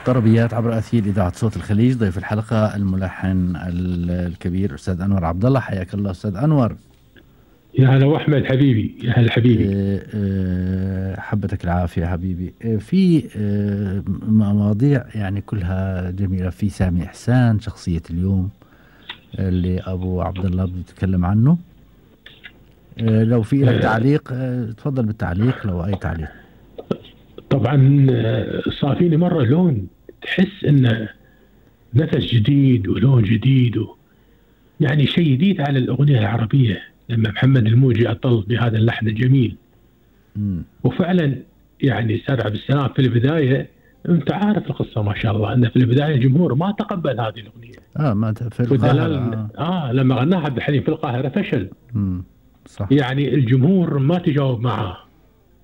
طربيات عبر أثير إذاعة صوت الخليج. ضيف الحلقة الملحن الكبير أستاذ أنور عبد الله. حياك الله أستاذ أنور. يا هلا أحمد حبيبي، يا هلا حبيبي. حبتك العافية حبيبي. في مواضيع يعني كلها جميلة. في سامي إحسان شخصية اليوم اللي أبو عبد الله بيتكلم عنه. لو في لك تعليق تفضل بالتعليق، لو أي تعليق. طبعا صافيني مرة لون تحس إنه نفس جديد ولون جديد يعني شيء جديد على الأغنية العربية لما محمد الموجي أطل بهذا اللحن الجميل. وفعلا يعني أستاذ عبد السلام في البداية أنت عارف القصة ما شاء الله، أن في البداية الجمهور ما تقبل هذه الأغنية. ما في القاهرة. لما غناها عبد الحليم في القاهرة فشل. صح. يعني الجمهور ما تجاوب معه،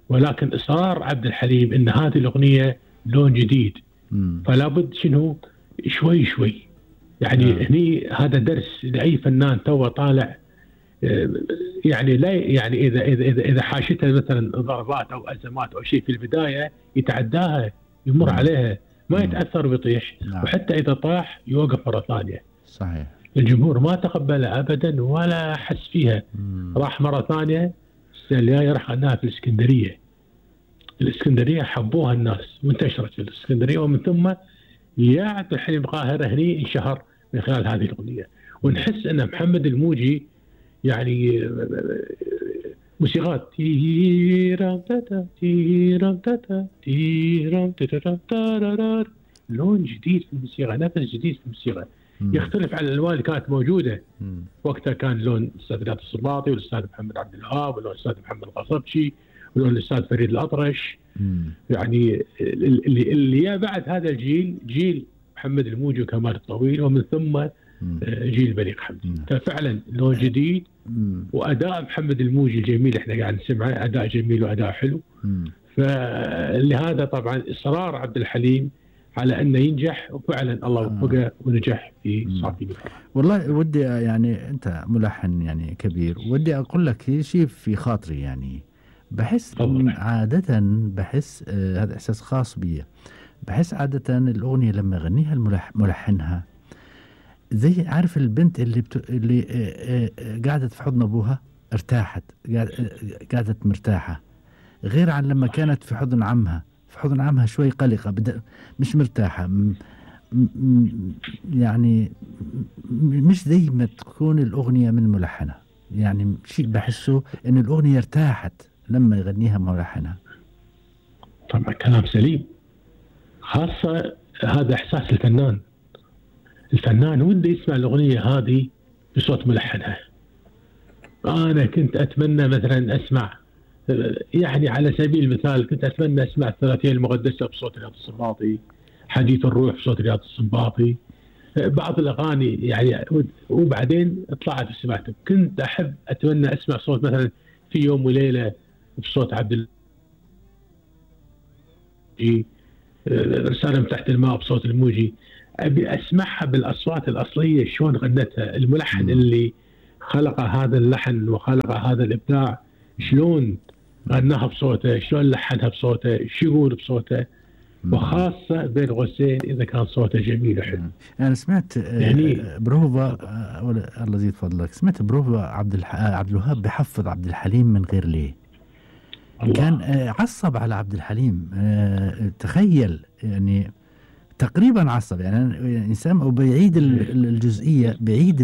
ولكن إصرار عبد الحليم إن هذه الأغنية لون جديد. فلا بد شنو شوي شوي يعني هني هذا درس لأي فنان تو طالع. يعني لا يعني إذا حاشته مثلا ضربات أو أزمات أو شيء في البداية يتعداها يمر عليها ما يتأثر ويطيح. وحتى إذا طاح يوقف مرة ثانية. صحيح. الجمهور ما تقبلها أبدا ولا حس فيها. راح مرة ثانية السنة الجاية راح غناها في الإسكندرية حبوها الناس وانتشرت في الإسكندرية، ومن ثم يا عبد الحليم القاهرة هني انشهر من خلال هذه الأغنية. ونحس أن محمد الموجي يعني موسيقات لون جديد في الموسيقى، نفس جديد في الموسيقى يختلف عن الألوان اللي كانت موجودة وقتها. كان لون الأستاذ رياض السنباطي والأستاذ محمد عبد الوهاب ولون الأستاذ محمد القصبجي ولون الأستاذ فريد الأطرش. يعني اللي بعد هذا الجيل جيل محمد الموجي وكمال الطويل، ومن ثم جيل بليغ حمدي. ففعلا لون جديد وأداء محمد الموجي الجميل احنا قاعد نسمعه، أداء جميل وأداء حلو. فلهذا طبعا إصرار عبد الحليم على أنه ينجح، وفعلا الله وفقه ونجح في صافي. والله ودي يعني أنت ملحن يعني كبير، ودي أقول لك شيء في خاطري. يعني بحس عادة بحس هذا إحساس خاص بي. بحس عادة الأغنية لما يغنيها ملحنها زي عارف البنت اللي قعدت في حضن أبوها ارتاحت، قعدت مرتاحة، غير عن لما كانت في حضن عمها. في حضن عمها شوي قلقة، مش مرتاحة. يعني مش زي ما تكون الأغنية من ملحنها. يعني شيء بحسه إن الأغنية ارتاحت لما يغنيها ملحنها. طبعا كلام سليم، خاصة هذا إحساس الفنان وده يسمع الأغنية هذه بصوت ملحنها. أنا كنت أتمنى مثلا أسمع، يعني على سبيل المثال كنت أتمنى أسمع الثلاثية المقدسة بصوت رياض السنباطي، حديث الروح بصوت رياض السنباطي، بعض الأغاني يعني. وبعدين طلعت وسمعتها. كنت أتمنى أسمع صوت مثلا في يوم وليلة بصوت عبد الموجي، رسالة من تحت الماء بصوت الموجي. أبي أسمعها بالأصوات الأصلية شلون غنتها الملحن اللي خلق هذا اللحن وخلق هذا الإبداع، شلون غناها بصوته، شلون لحنها بصوته، شو يقول بصوته. وخاصة بين قوسين إذا كان صوته جميل وحلو. أنا سمعت يعني بروفا الله يزيد فضلك، سمعت بروفا عبد الوهاب بحفظ عبد الحليم من غير ليه. الله. كان عصب على عبد الحليم. تخيل يعني تقريبا عصب. يعني إنسان وبيعيد الجزئية، بيعيد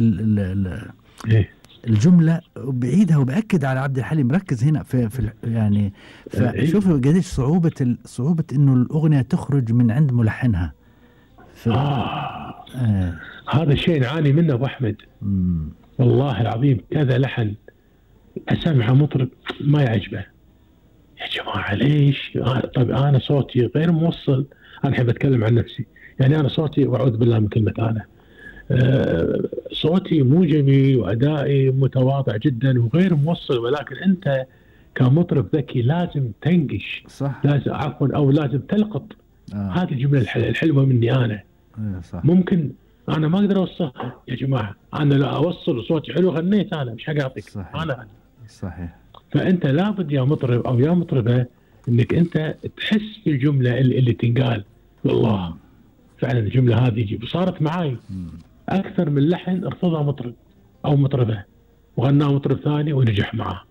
الجملة وبعيدها وبأكد على عبد الحليم. ركز هنا في يعني فشوفوا قديش صعوبة إنه الأغنية تخرج من عند ملحنها. هذا الشيء نعاني منه أبو أحمد. والله العظيم كذا لحن أسمع مطرب ما يعجبه. يا جماعة ليش؟ طيب أنا صوتي غير موصل. أنا أحب أتكلم عن نفسي. يعني أنا صوتي، وأعوذ بالله من كلمة أنا، صوتي مو جميل وأدائي متواضع جدا وغير موصل. ولكن أنت كمطرب ذكي لازم تنقش. صح. لازم أو لازم تلقط هذه الجملة الحلوة مني أنا. صح. ممكن أنا ما أقدر أوصلها يا جماعة. أنا لا أوصل صوتي حلو غنيت أنا مش حقاطك. صحيح. أنا صحيح. فأنت لابد يا مطرب أو يا مطربة انك انت تحس في الجمله اللي تنقال. والله فعلا الجمله هذه يجيب. وصارت معاي اكثر من لحن ارتضى مطرب او مطربه وغناه مطرب ثاني ونجح معاه.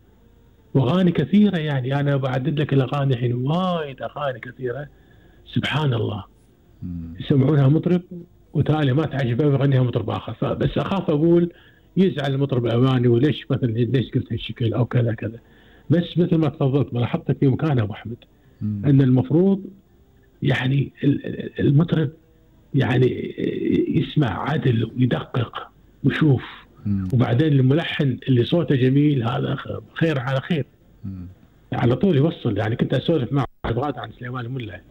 واغاني كثيره يعني انا بعدد لك الاغاني الحين، وايد اغاني كثيره سبحان الله يسمعونها مطرب وتالي ما تعجبه ويغنيها مطرب اخر. فبس اخاف اقول يزعل المطرب الاولاني وليش مثلا ليش قلت هالشكل او كذا كذا. بس مثل ما تفضلت ما لاحظتك في مكان ابو احمد ان المفروض يعني المطرب يعني يسمع عدل ويدقق ويشوف. وبعدين الملحن اللي صوته جميل هذا خير على خير على طول يوصل. يعني كنت اسولف مع غاد عن سليمان الملا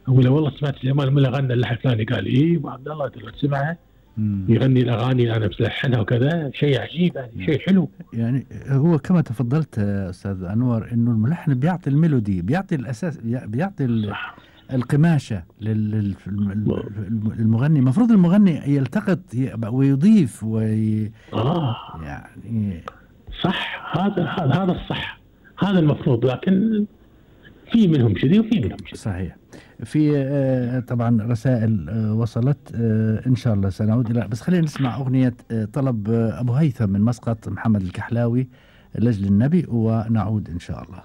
اقول له والله سمعت سليمان الملا غنى اللحن الفلاني، قال ايه ابو عبد الله تسمعها يغني الاغاني اللي انا بلحنها وكذا. شيء عجيب يعني شيء حلو. يعني هو كما تفضلت استاذ انور انه الملحن بيعطي الميلودي، بيعطي الاساس، بيعطي القماشه للمغني. المفروض المغني يلتقط ويضيف يعني صح. هذا الصح، هذا المفروض. لكن في منهم شذي وفي منهم شذي. صحيح. في طبعا رسائل وصلت ان شاء الله سنعود الى، بس خلينا نسمع اغنيه طلب ابو هيثم من مسقط محمد الكحلاوي لاجل النبي ونعود ان شاء الله.